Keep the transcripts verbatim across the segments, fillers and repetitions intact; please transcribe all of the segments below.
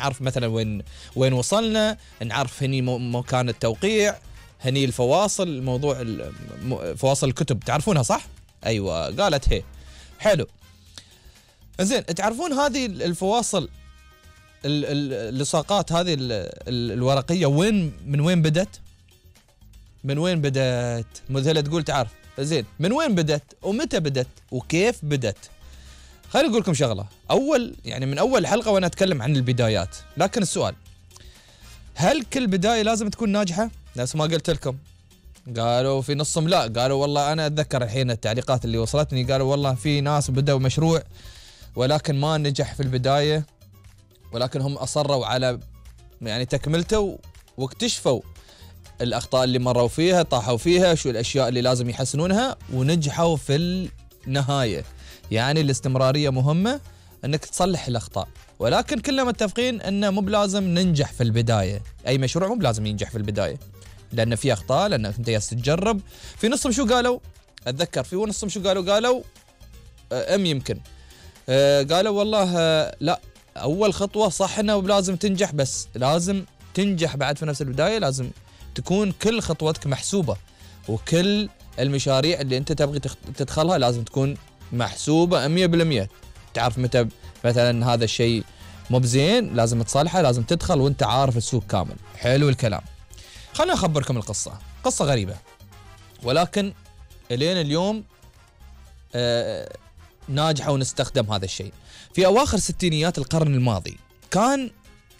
نعرف مثلا وين وين وصلنا، نعرف هني مكان التوقيع، هني الفواصل، موضوع فواصل الكتب تعرفونها صح؟ ايوه قالت هي. حلو زين، تعرفون هذه الفواصل اللصاقات هذه الورقيه وين من وين بدت؟ من وين بدت؟ مذهله تقول تعرف. زين، من وين بدت ومتى بدت وكيف بدت؟ خليني اقول لكم شغله. اول يعني من اول حلقه وانا اتكلم عن البدايات، لكن السؤال هل كل بدايه لازم تكون ناجحه؟ نفس ما قلت لكم قالوا في نصهم لا، قالوا والله انا اتذكر الحين التعليقات اللي وصلتني، قالوا والله في ناس بدأوا مشروع ولكن ما نجح في البدايه، ولكن هم اصروا على يعني تكملته واكتشفوا الاخطاء اللي مروا فيها، طاحوا فيها، شو الاشياء اللي لازم يحسنونها ونجحوا في النهايه. يعني الاستمراريه مهمه، انك تصلح الاخطاء، ولكن كلنا متفقين انه مو بلازم ننجح في البدايه، اي مشروع مو بلازم ينجح في البدايه لان في اخطاء، لانك انت جالس تجرب. في نصهم شو قالوا؟ اتذكر في نصهم شو قالوا؟ قالوا ام يمكن آه قالوا والله آه لا، اول خطوه صح انه لازم تنجح، بس لازم تنجح بعد في نفس البدايه، لازم تكون كل خطوتك محسوبه، وكل المشاريع اللي انت تبغي تدخلها لازم تكون محسوبه مية بالمية. تعرف متى مثلا هذا الشيء مو بزين لازم تصلحه، لازم تدخل وانت عارف السوق كامل. حلو الكلام. خلنا اخبركم القصه، قصه غريبه ولكن الين اليوم آه ناجحه ونستخدم هذا الشيء. في اواخر ستينيات القرن الماضي كان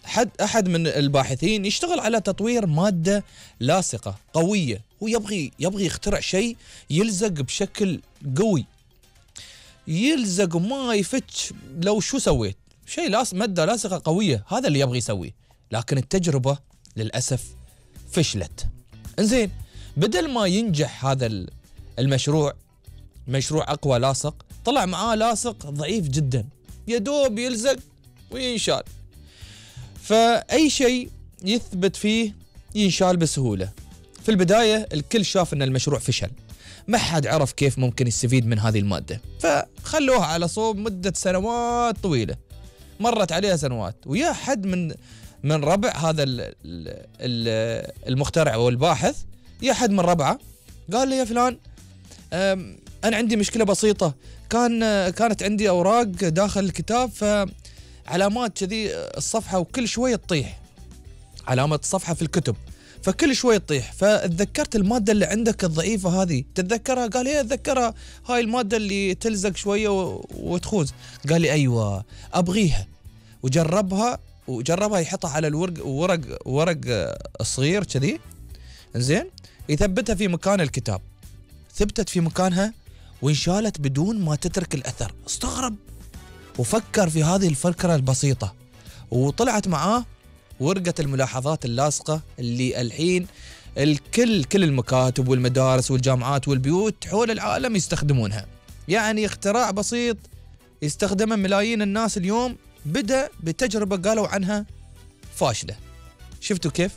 حد احد من الباحثين يشتغل على تطوير ماده لاصقه قويه، ويبغي يبغي يخترع شيء يلزق بشكل قوي، يلزق وما يفتش. لو شو سويت شيء لاصق، ماده لاصقه قويه، هذا اللي يبغي يسويه. لكن التجربه للاسف فشلت. انزين، بدل ما ينجح هذا المشروع، مشروع اقوى لاصق، طلع معاه لاصق ضعيف جدا، يدوب يلزق وينشال. فاي شيء يثبت فيه ينشال بسهوله. في البدايه الكل شاف ان المشروع فشل، ما حد عرف كيف ممكن يستفيد من هذه الماده، فخلوها على صوب مده سنوات طويله. مرت عليها سنوات، ويا حد من من ربع هذا المخترع والباحث، يا حد من ربعه قال لي يا فلان انا عندي مشكله بسيطه، كان كانت عندي اوراق داخل الكتاب فعلامات كذي الصفحه وكل شويه تطيح، علامه الصفحه في الكتب فكل شويه تطيح، فتذكرت الماده اللي عندك الضعيفه هذه، تتذكرها؟ قال لي اتذكرها، هاي الماده اللي تلزق شويه وتخوز. قال لي ايوه ابغيها، وجربها وجربها يحطها على الورق ورق ورق صغير كذي، زين، يثبتها في مكان الكتاب. ثبتت في مكانها وانشالت بدون ما تترك الاثر. استغرب وفكر في هذه الفكره البسيطه، وطلعت معاه ورقه الملاحظات اللاصقه اللي الحين الكل كل المكاتب والمدارس والجامعات والبيوت حول العالم يستخدمونها. يعني اختراع بسيط يستخدمه ملايين الناس اليوم، بدأ بتجربة قالوا عنها فاشلة. شفتوا كيف؟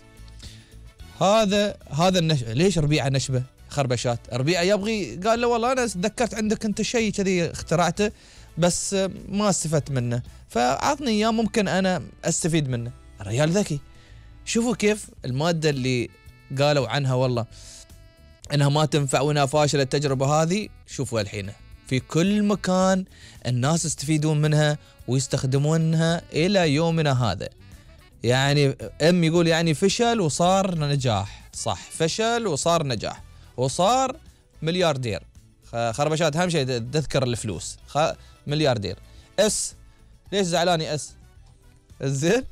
هذا هذا النشبة. ليش ربيعة نشبة خربشات؟ ربيعة يبغي، قال له والله أنا تذكرت عندك أنت شيء كذي اخترعته بس ما استفدت منه، فعطني إياه ممكن أنا أستفيد منه. الرجال ذكي. شوفوا كيف المادة اللي قالوا عنها والله أنها ما تنفع وأنها فاشلة التجربة هذه، شوفوا الحين في كل مكان الناس يستفيدون منها ويستخدمونها إلى يومنا هذا. يعني ام يقول يعني فشل وصار نجاح، صح، فشل وصار نجاح وصار ملياردير. خربشات أهم شيء تذكر الفلوس، ملياردير. اس ليش زعلاني اس؟ زين،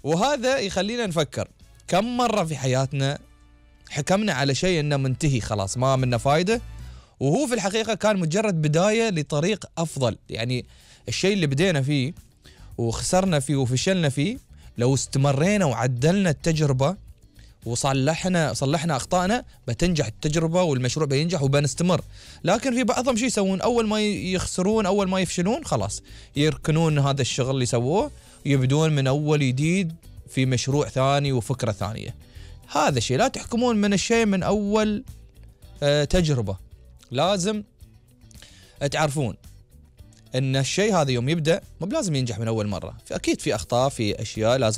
وهذا يخلينا نفكر كم مرة في حياتنا حكمنا على شيء انه منتهي خلاص ما منه فايدة، وهو في الحقيقة كان مجرد بداية لطريق أفضل. يعني الشيء اللي بدينا فيه وخسرنا فيه وفشلنا فيه، لو استمرينا وعدلنا التجربة وصلحنا صلحنا أخطائنا بتنجح التجربة والمشروع بينجح وبنستمر. لكن في بعضهم شو يسوون؟ أول ما يخسرون، أول ما يفشلون، خلاص يركنون هذا الشغل اللي سووه ويبدون من أول جديد في مشروع ثاني وفكرة ثانية. هذا الشيء لا تحكمون من الشيء من أول آه تجربة. لازم تعرفون ان الشيء هذا يوم يبدأ مو بلازم ينجح من اول مرة، فاكيد في اخطاء، في اشياء لازم